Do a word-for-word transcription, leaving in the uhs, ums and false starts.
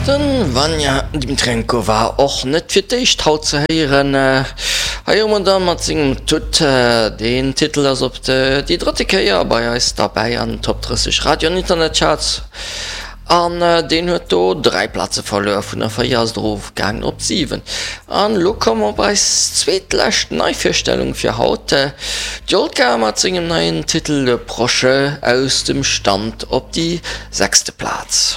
Den Vanja Dmitrenko war och net fir d'éischt haut ze héieren. Hei hu mer da mat sengem Tut. Deen Titel ass op déi drëtte Kéier bei eis derbäi an den Top drësseg Radio an Internetcharts. An deen huet do dräi Plaze verluer, vun der véier ass et erofgaangen op d'siwen. An elo komme mer op eis zweetlescht Neivirstellung fir haut, d'Jolka mat sengem neien Titel Le Proche aus dem Stand op déi sechste Plaz.